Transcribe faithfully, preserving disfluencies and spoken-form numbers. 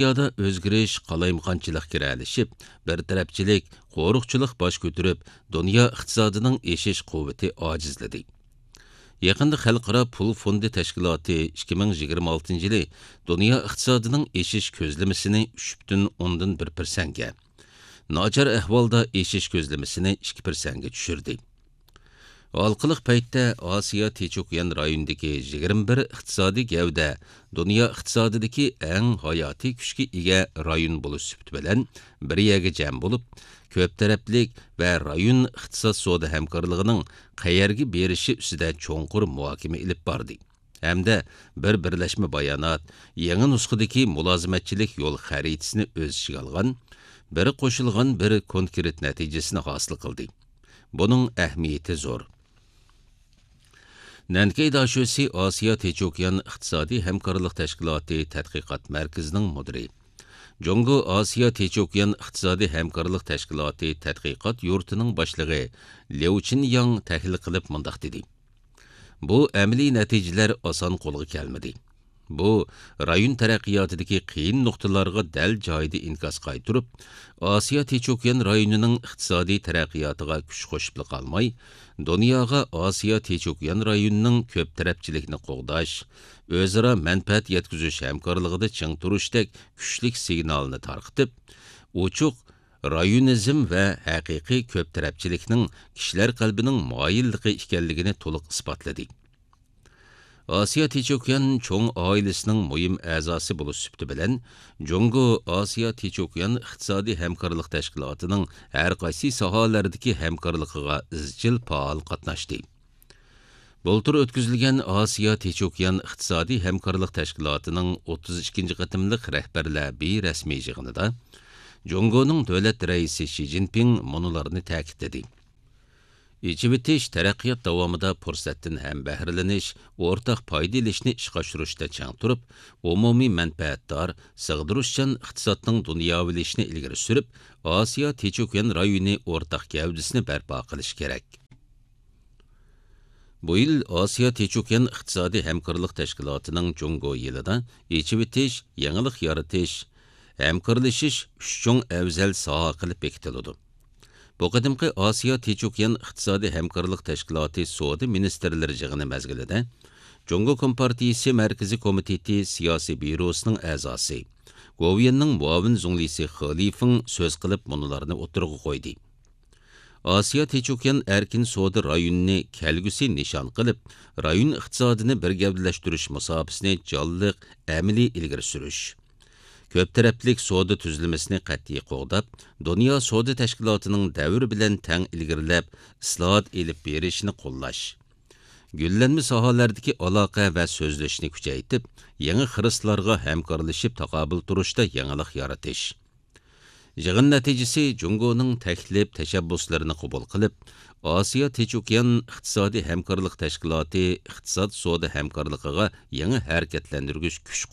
دۇنيادا ئۆزگىرىش، قالايمىقانچىلىق گىرەلىشىپ، بىر تەرەپچىلىك، قورۇقچىلىق باش كۆتۈرۈپ، دۇنيا ئىقتىسادىنىڭ ئېشىش قۇۋۋىتى ئاجىزلىدى. يېقىندا خەلقئارا پۇل فوندى تەشكىلاتى ئىككى مىڭ يىگىرمە ئالتىنچى يىلى دۇنيا ئىقتىسادىنىڭ ئېشىش كۆزلىمىسىنى ئۈچ پۈتۈن ئوندىن بىر پىرسەنتكە، ناچار ئەھۋالدا ئېشىش كۆزلىمىسىنى ئىككى پىرسەنتكە چۈشۈردى. ھالقىلىق پەيتتە ئاسىيا تىنچ ئوكيان رايونىدىكى يىگىرمە بىر ئىقتىسادىي گەۋدە دۇنيا ئىقتىسادىدىكى ئەڭ ھاياتىي كۈچكە ئىگە رايون بولۇش سۈپىتى بىلەن بىر يەرگە جەم بولۇپ، كۆپ تەرەپلىك ۋە رايون ئىقتىساد سودا ھەمكارلىقىنىڭ قەيەرگە بېرىشى ئۈستىدە چوڭقۇر مۇھاكىمە ئېلىپ باردى ھەمدە بىر بىرلەشمە بايانات، يېڭى نۇسخىدىكى مۇلازىمەتچىلىك يول خەرىتىسىنى ئۆز ئىچىگە ئالغان بىر قوشۇلغان بىر كونكرېت نەتىجىسىنى ھاسىل قىلدى. بۇنىڭ ئەھمىيىتى زور. نەنكەي داشۆسى ئاسىيا تىنچ ئوكيان ئىقتىسادىي ھەمكارلىق تەشكىلاتى تەتقىقات مەركىزىنىڭ مۇدىرى، جۇڭگو ئاسىيا تىنچ ئوكيان ئىقتىسادىي ھەمكارلىق تەشكىلاتى تەتقىقات يۇرتىنىڭ باشلىقى ليۇ چىنياڭ تەھلىل قىلىپ مۇنداق دېدى: بۇ ئەمەلىي نەتىجىلەر ئاسان قولغا كەلمىدى. بۇ رايون تەرەققىياتىدىكى قىيىن نۇقتىلارغا دەل جايىدا ئىنكاس قايتۇرۇپ، ئاسىيا تىنچ ئوكيان رايونىنىڭ ئىقتىسادىي تەرەققىياتىغا كۈچ قوشۇپلا قالماي، دۇنياغا ئاسىيا تىنچ ئوكيان رايونىنىڭ كۆپ تەرەپچىلىكنى قوغداش، ئۆزئارا مەنپەئەت يەتكۈزۈش ھەمكارلىقىدا چىڭ تۇرۇشتەك كۈچلۈك سىگنالنى تارقىتىپ، ئوچۇق رايونىزم ۋە ھەقىقىي كۆپ تەرەپچىلىكنىڭ كىشىلەر قەلبىنىڭ مايىللىقى ئىكەنلىكىنى تولۇق ئىسپاتلىدى. ئاسىيا تىنچ ئوكيان چوڭ ئائىلىسىنىڭ مۇھىم ئەزاسى بولۇش سۈپىتى بىلەن، جۇڭگو ئاسىيا تىنچ ئوكيان ئىقتىسادىي ھەمكارلىق تەشكىلاتىنىڭ ھەر قايسى ساھەلەردىكى ھەمكارلىقىغا ئىزچىل پائال قاتناشتى. بۇلتۇر ئۆتكۈزۈلگەن ئاسىيا تىنچ ئوكيان ئىقتىسادىي ھەمكارلىق تەشكىلاتىنىڭ ئوتتۇز ئىككىنچى قېتىملىق رەھبەرلەر بىرەسمىي يىغىنىدا جۇڭگونىڭ دۆلەت رەئىسى شى جىنپىڭ مۇنۇلارنى تەكىتلىدى: ئېچىۋېتىش تەرەققىيات داۋامىدا پۇرسەتتىن ھەمبەھرىلىنىش، ئورتاق پايدا ئېلىشنى ئىشقا ئاشۇرۇشتا چىڭ تۇرۇپ، ئومۇمىي مەنپەئەتدار، سىغدۇرۇشچان ئىقتىسادنىڭ دۇنياۋىلىشىشىنى ئىلگىرى سۈرۈپ، ئاسىيا تىنچ ئوكيان رايونى ئورتاق گەۋدىسىنى بەرپا قىلىش كېرەك. بۇ يىل ئاسىيا تىنچ ئوكيان ئىقتىسادىي ھەمكارلىق تەشكىلاتىنىڭ جۇڭگو يىلىدا ئېچىۋېتىش، يېڭىلىق يارىتىش، ھەمكارلىشىش ئۈچ چوڭ ئەۋزەل ساھە قىلىپ بېكىتىلىدۇ. بۇ قېتىمقى ئاسىيا تىنچ ئوكيان ئىقتىسادىي ھەمكارلىق تەشكىلاتى سودا مىنىستىرلىرى يىغىنى مەزگىلىدە، جۇڭگو كومپارتىيىسى مەركىزىي كومىتېتى سىياسىي بيۇروسىنىڭ ئەزاسى، گوۋۇيۈەننىڭ مۇئاۋىن زۇڭلىسى خې لىفېڭ سۆز قىلىپ مۇنۇلارنى ئوتتۇرىغا قويدى. ئاسىيا تىنچ ئوكيان ئەركىن سودا رايونىنى كەلگۈسى نىشان قىلىپ، رايون ئىقتىسادىنى بىر گەۋدىلەشتۈرۈش مۇساپىسىنى جانلىق، ئەمەلىي ئىلگىرى سۈرۈش. كۆپ تەرەپلىك سودا تۈزۈلمىسىنى قەتئىي قوغداپ، دۇنيا سودا تەشكىلاتىنىڭ دەۋر بىلەن تەڭ ئىلگىرىلەپ، ئىسلاھات ئېلىپ بېرىشىنى قوللاش. گۈللەنمە ساھەلەردىكى ئالاقە ۋە سۆزلىشىشنى كۈچەيتىپ، يېڭى خىرىسلارغا ھەمكارلىشىپ تاقابىل تۇرۇشتا يېڭىلىق يارىتىش. يىغىن نەتىجىسى جۇڭگونىڭ تەكلىپ، تەشەببۇسلىرىنى قوبۇل قىلىپ، ئاسىيا تىنچ ئوكيان ئىقتىسادىي ھەمكارلىق تەشكىلاتى ئىقتىساد سودا ھەمكارلىقىغا يېڭى ھەرىكەتلەندۈرگۈچ كۈچ